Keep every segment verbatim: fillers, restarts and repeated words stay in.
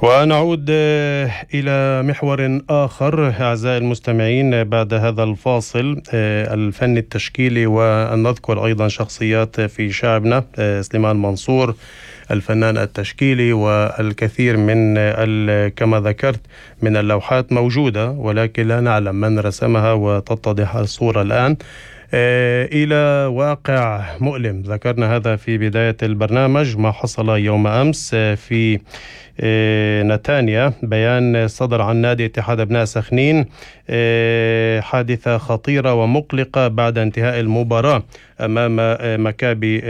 ونعود إلى محور آخر أعزائي المستمعين بعد هذا الفاصل الفن التشكيلي، ونذكر أيضا شخصيات في شعبنا. سليمان منصور الفنان التشكيلي، والكثير من كما ذكرت من اللوحات موجودة ولكن لا نعلم من رسمها، وتتضح الصورة الآن إلى واقع مؤلم. ذكرنا هذا في بداية البرنامج، ما حصل يوم أمس في نتانيا. بيان صدر عن نادي اتحاد أبناء سخنين، حادثة خطيرة ومقلقة بعد انتهاء المباراة أمام مكابي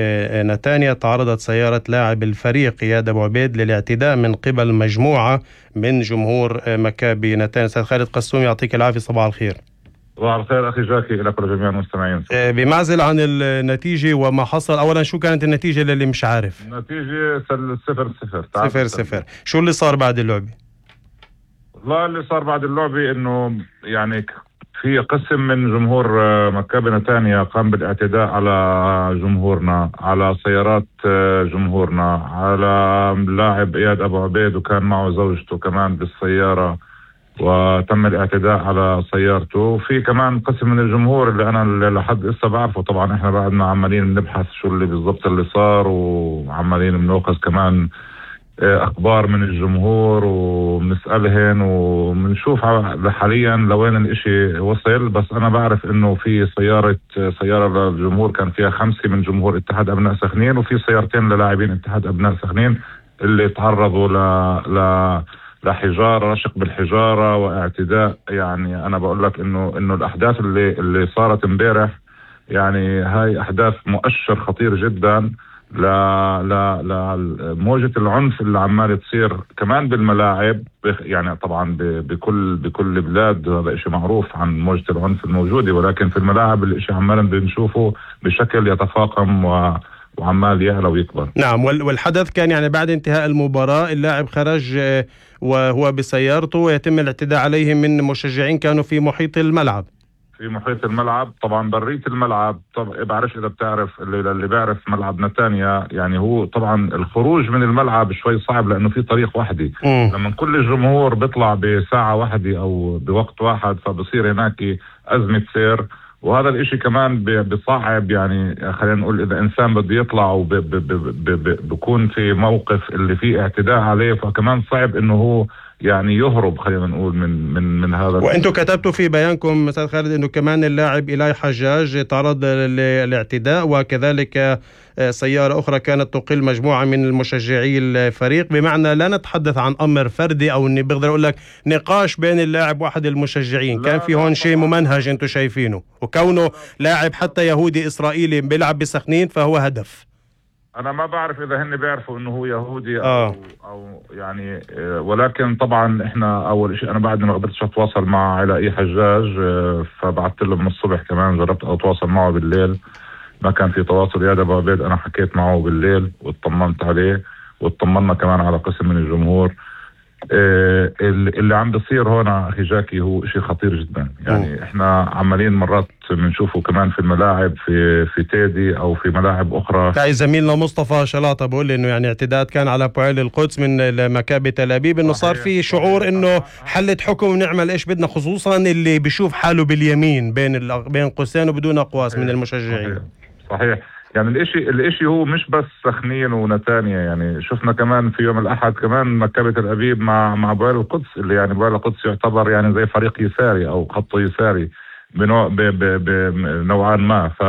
نتانيا. تعرضت سيارة لاعب الفريق إياد أبو عبيد للاعتداء من قبل مجموعة من جمهور مكابي نتانيا. سيد خالد قسوم يعطيك العافية، صباح الخير. صباح الخير أخي جاكي لك ولجميع المستمعين. بمعزل عن النتيجة وما حصل، أولا شو كانت النتيجة للي مش عارف؟ النتيجة صفر صفر صفر صفر. شو اللي صار بعد اللعبة؟ والله اللي صار بعد اللعبة إنه يعني في قسم من جمهور مكابي نتانيا قام بالاعتداء على جمهورنا، على سيارات جمهورنا، على لاعب إياد أبو عبيد وكان معه زوجته كمان بالسيارة، وتم الاعتداء على سيارته. في كمان قسم من الجمهور اللي أنا لحد إسا بعرفه، طبعا إحنا بعدنا عمالين نبحث شو اللي بالضبط اللي صار، وعمالين بنوقظ كمان أخبار من الجمهور وبنسألهن وبنشوف حاليا لوين الاشي وصل. بس أنا بعرف إنه في سيارة سيارة للجمهور كان فيها خمسة من جمهور اتحاد أبناء سخنين، وفي سيارتين للاعبين اتحاد أبناء سخنين اللي تعرضوا ل ل لحجارة، رشق بالحجارة واعتداء. يعني أنا بقول لك إنه إنه الأحداث اللي اللي صارت امبارح يعني هاي أحداث مؤشر خطير جدا ل ل لموجة العنف اللي عمال تصير كمان بالملاعب. يعني طبعا بكل بكل بلاد هذا إشي معروف عن موجة العنف الموجودة، ولكن في الملاعب الإشي عمالا بنشوفه بشكل يتفاقم و وعمال يعلى ويكبر. نعم، والحدث كان يعني بعد انتهاء المباراة، اللاعب خرج وهو بسيارته ويتم الاعتداء عليه من مشجعين كانوا في محيط الملعب. في محيط الملعب طبعا برية الملعب. طب بعرفش إذا بتعرف اللي, اللي بيعرف ملعب نتانيا، يعني هو طبعا الخروج من الملعب شوي صعب لأنه في طريق واحدة. لما كل الجمهور بيطلع بساعة واحدة أو بوقت واحد فبصير هناك أزمة سير، وهذا الاشي كمان بصعب. يعني خلينا نقول اذا انسان بده يطلع وبكون في موقف اللي فيه اعتداء عليه، فكمان صعب انه هو يعني يهرب خلينا نقول من من من هذا. وانتم كتبتوا في بيانكم استاذ خالد انه كمان اللاعب إيلاي حجاج تعرض للاعتداء، وكذلك سيارة أخرى كانت تقل مجموعة من المشجعي الفريق. بمعنى لا نتحدث عن أمر فردي أو إني بقدر أقول لك نقاش بين اللاعب واحد المشجعين، كان في هون شيء ممنهج أنتم شايفينه، وكونه لاعب حتى يهودي إسرائيلي بيلعب بسخنين فهو هدف. أنا ما بعرف إذا هن بيعرفوا إنه هو يهودي أو, آه. أو يعني، ولكن طبعا إحنا أول شيء أنا بعد ما قدرتش أتواصل مع علاء حجاج، فبعثت له من الصبح كمان، جربت أتواصل معه بالليل ما كان في تواصل. يا أبو عبيد أنا حكيت معه بالليل واطمنت عليه، واطمنا كمان على قسم من الجمهور. إيه اللي عم بصير هون أخي جاكي هو شيء خطير جدا. يعني م. إحنا عمالين مرات بنشوفه كمان في الملاعب في في تيدي أو في ملاعب أخرى. تعي زميلنا مصطفى شلاطة بقول لي إنه يعني اعتداءات كان على بوعيل القدس من مكابي تل أبيب، إنه صار في شعور إنه حلت حكم ونعمل إيش بدنا، خصوصا اللي بيشوف حاله باليمين بين بين قوسين وبدون أقواس من المشجعين. صحيح. صحيح. يعني الاشي الاشي هو مش بس سخنين ونتانيا، يعني شفنا كمان في يوم الأحد كمان مكابة تل أبيب مع مع بوعيل القدس، اللي يعني بوعيل القدس يعتبر يعني زي فريق يساري أو خط يساري بنوع بنوعا ما. ف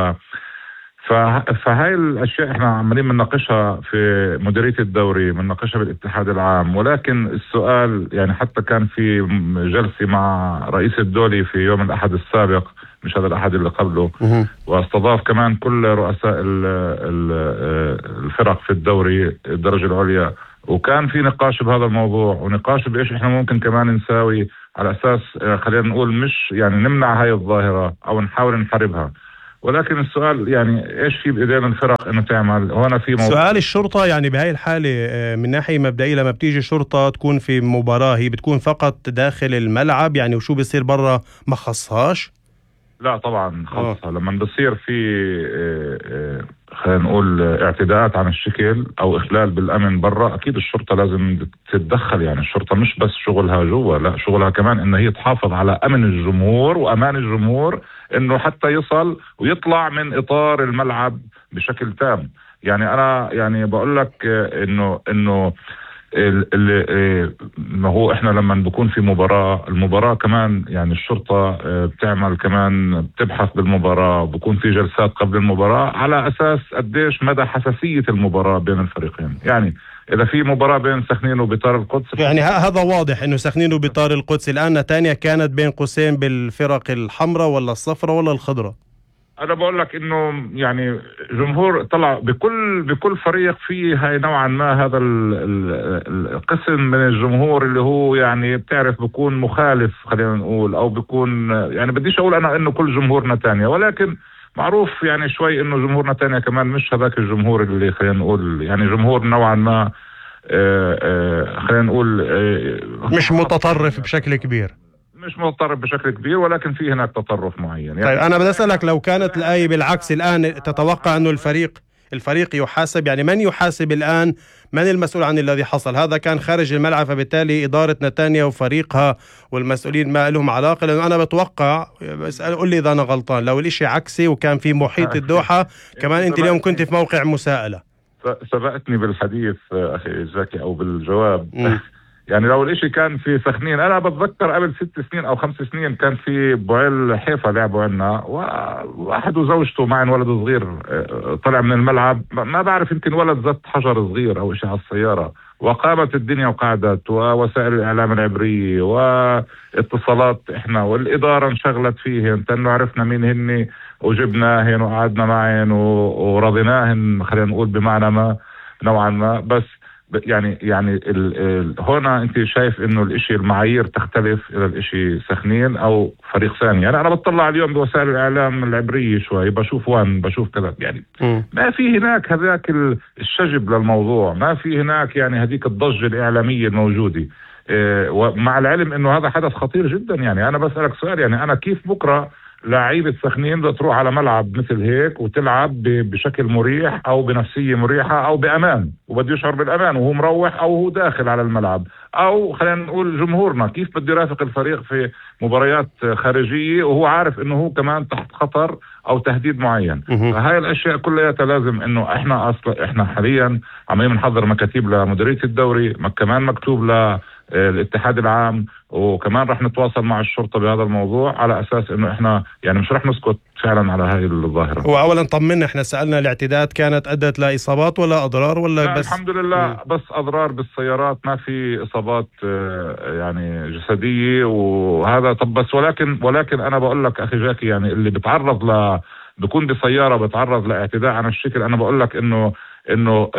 فهاي الأشياء احنا عمالين بنناقشها في مديرية الدوري، بنناقشها بالاتحاد العام. ولكن السؤال يعني حتى كان في جلسة مع رئيس الدولي في يوم الأحد السابق، مش هذا الأحد اللي قبله، واستضاف كمان كل رؤساء الفرق في الدوري الدرجة العليا، وكان في نقاش بهذا الموضوع ونقاش بإيش احنا ممكن كمان نساوي على أساس خلينا نقول مش يعني نمنع هاي الظاهرة أو نحاول نحاربها. ولكن السؤال يعني ايش في بايدينا الفرق انه تعمل هون في موضوع. سؤال الشرطة يعني بهاي الحالة من ناحية مبدئية، لما بتيجي شرطة تكون في مباراة هي بتكون فقط داخل الملعب يعني، وشو بيصير برا ما خصهاش؟ لا طبعا خلصها. لما بصير في خلينا نقول اعتداءات عن الشكل او اخلال بالامن برا، اكيد الشرطه لازم تتدخل. يعني الشرطه مش بس شغلها جوا، لا شغلها كمان ان هي تحافظ على امن الجمهور وامان الجمهور، انه حتى يصل ويطلع من اطار الملعب بشكل تام. يعني انا يعني بقول لك انه انه اللي ما هو احنا لما بكون في مباراة، المباراة كمان يعني الشرطة بتعمل كمان بتبحث بالمباراة، بكون في جلسات قبل المباراة على اساس قديش مدى حساسية المباراة بين الفريقين. يعني اذا في مباراة بين سخنين وبطار القدس، يعني هذا واضح انه سخنين وبطار القدس الان نتانيا كانت بين قوسين بالفرق الحمراء ولا الصفراء ولا الخضراء. أنا بقول لك إنه يعني جمهور طلع بكل بكل فريق فيه هاي نوعا ما هذا القسم من الجمهور اللي هو يعني بتعرف بكون مخالف، خلينا نقول، أو بكون يعني بديش أقول أنا إنه كل جمهور نتانيا، ولكن معروف يعني شوي إنه جمهور نتانيا كمان مش هذاك الجمهور اللي خلينا نقول يعني جمهور نوعا ما آآ آآ خلينا نقول مش متطرف بشكل كبير. مش متطرف بشكل كبير، ولكن في هناك تطرف معين. يعني طيب أنا بدي أسألك، لو كانت الآية بالعكس الآن تتوقع أنه الفريق الفريق يحاسب؟ يعني من يحاسب الآن؟ من المسؤول عن الذي حصل؟ هذا كان خارج الملعب، فبالتالي إدارة نتانيا وفريقها والمسؤولين ما لهم علاقة. لأنه أنا بتوقع، بس قل لي إذا أنا غلطان، لو الإشي عكسي وكان في محيط الدوحة كمان أنت اليوم كنت في موقع مساءلة. سبقتني بالحديث أخي زكي أو بالجواب. يعني لو الاشي كان في سخنين، انا بتذكر قبل ست سنين او خمس سنين كان في بوعيل حيفا لعبوا عنا، وواحد وزوجته معن ولد صغير طلع من الملعب، ما بعرف يمكن ولد زت حجر صغير او اشي على السيارة، وقامت الدنيا وقعدت، ووسائل الاعلام العبرية واتصالات احنا والادارة انشغلت فيهن، تنو عرفنا مين هني وجبناهن وقعدنا معهن ورضيناهن، خلينا نقول بمعنى ما نوعا ما. بس يعني يعني ال ال هنا انت شايف انه الاشي المعايير تختلف الى الاشي سخنين او فريق ثاني. يعني انا بطلع اليوم بوسائل الاعلام العبرية شوي، بشوف وين بشوف كذا، يعني م. ما في هناك هذاك الشجب للموضوع، ما في هناك يعني هذيك الضجة الاعلامية الموجودة. إيه، ومع العلم انه هذا حدث خطير جدا. يعني انا بسألك سؤال، يعني انا كيف بكرة لاعيبة سخنين بدها تروح على ملعب مثل هيك وتلعب بشكل مريح او بنفسية مريحة او بامان، وبده يشعر بالامان وهو مروح او هو داخل على الملعب، او خلينا نقول جمهورنا كيف بده يرافق الفريق في مباريات خارجية وهو عارف انه هو كمان تحت خطر او تهديد معين. فهاي الاشياء كلها لازم انه احنا اصلا احنا حاليا عمالين نحضر مكاتيب لمديرية الدوري، كمان مكتوب ل الاتحاد العام، وكمان رح نتواصل مع الشرطة بهذا الموضوع على أساس إنه إحنا يعني مش رح نسكت فعلا على هاي الظاهرة. وأولا طمنا، إحنا سألنا الاعتداءات كانت أدت لإصابات ولا أضرار ولا بس؟ الحمد لله م. بس أضرار بالسيارات، ما في إصابات يعني جسدية وهذا. طب بس ولكن ولكن أنا بقول لك أخي جاكي، يعني اللي بتعرض ل بكون بسيارة بتعرض لاعتداء عن الشكل، أنا بقول لك إنه انه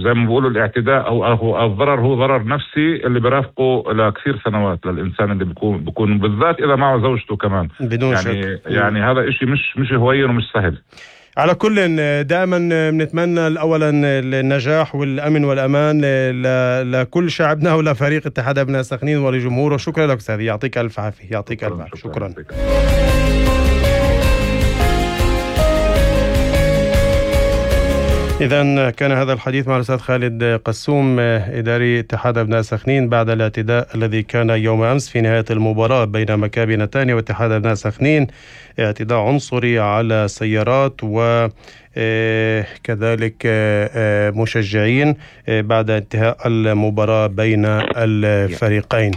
زي ما بيقولوا الاعتداء او او الضرر هو ضرر نفسي اللي برافقه لكثير سنوات للانسان اللي بيكون بيكون بالذات اذا معه زوجته كمان بدون يعني شك. يعني هذا اشي مش مش هوين ومش سهل. على كل دائما بنتمنى اولا النجاح والامن والامان لكل شعبنا ولفريق اتحاد ابناء سخنين ولجمهوره. شكرا لك استاذ، يعطيك الف عافيه. يعطيك الف عافيه. شكرا, شكرا. إذن كان هذا الحديث مع الأستاذ خالد قسوم، إداري اتحاد أبناء سخنين، بعد الاعتداء الذي كان يوم أمس في نهاية المباراة بين مكابي نتانيا واتحاد أبناء سخنين، اعتداء عنصري على سيارات وكذلك مشجعين بعد انتهاء المباراة بين الفريقين.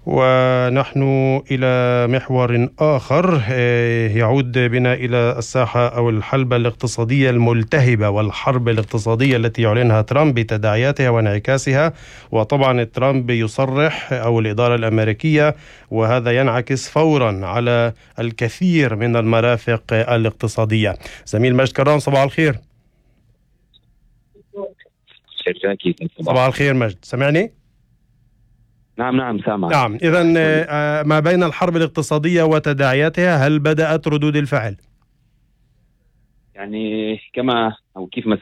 ونحن إلى محور آخر يعود بنا إلى الساحة أو الحلبة الاقتصادية الملتهبة والحرب الاقتصادية التي يعلنها ترامب بتداعياتها وانعكاسها. وطبعا ترامب يصرح أو الإدارة الأمريكية، وهذا ينعكس فورا على الكثير من المرافق الاقتصادية. زميل مجد كرام، صباح الخير. صباح الخير مجد، سمعني؟ نعم نعم سامع. نعم، إذن ما بين الحرب الاقتصادية وتداعياتها، هل بدأت ردود الفعل؟ يعني كما أو كيف ما